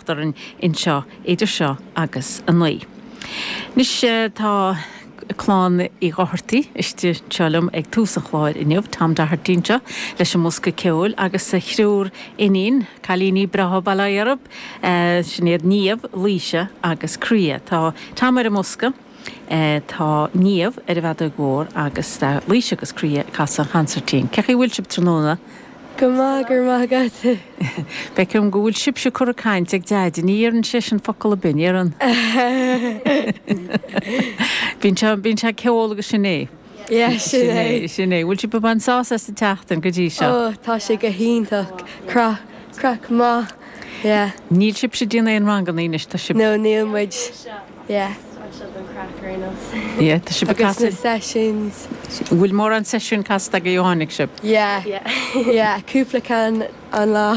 fanacht orainn anseo idir seo agus 9. Anois tá clann Uí Dhochartaigh istigh anseo liom ag tús an chláir inniu, Tom Doherty anseo leis an mbosca ceoil agus a thriúr iníon, cailíní breátha bail ó Dhia orthu, sin iad Niamh, Laoise agus Croía. Tá Tom ar an mbosca, tá Niamh ar an bhfeadóg mhór agus tá Laoise agus Croía ag casadh an chansairtín. Cén chaoi a bhfuil sibh tráthnóna? Go maith, go raibh maith agat. Feicim go bhfuil sibhse curtha ag caint ag Deaide, ní dheireann seisean focal ar bith, an ndeireann? Bíonn sé, bíonn sé ag ceol agus sin é. Yeah, sin é. Sin é. Bhfuil sibh ag baint sásamh as an tseachtain go dtí seo? Oh, tá sé go hiontach. Craic, craic maith. Yeah. Níl sibhse ag déanamh aon ranganna anois, tá sibh. No, níl muid. Yeah. Anseo don craic ar aon nós. Yeah, tá sibh ag Agus na casadh. sessions. Bhfuil mórán seisiún casta agaibh ó tháinig sibh? Yeah. Yeah, cúpla ceann an lá.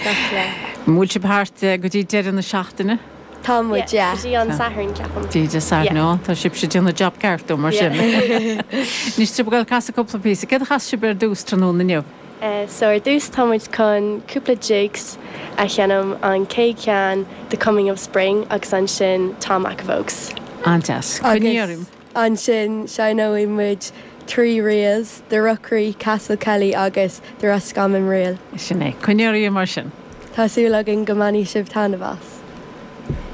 Gach lá. An bhfuil sibh thart go dtí deireadh na seachtaine? Tá muid, yeah. Go dtí an Satharn, ceapaim. Go dtí Dé Sathairn, Yeah. ó, tá sibhse ag déanamh job ceart dom, mar sin. Yeah. Anois, tá sibh ag dul ag casadh cúpla píosa. Céard a chas sibh ar dtús tráthnóna inniu? So ar dtús tá muid chun cúpla jigs a sheinm, an chéad cheann The Coming of Spring agus ansin Tom McAvogue's. An-deas. Coinnigh Agus orm. ansin seinneoidh muid 3 reels, The Rookery, Castle Kelly agus The Roscommon Reel. Sin é. Coinnigh oraibh mar sin. Tá súil againn go mbainfidh sibh taitneamh as.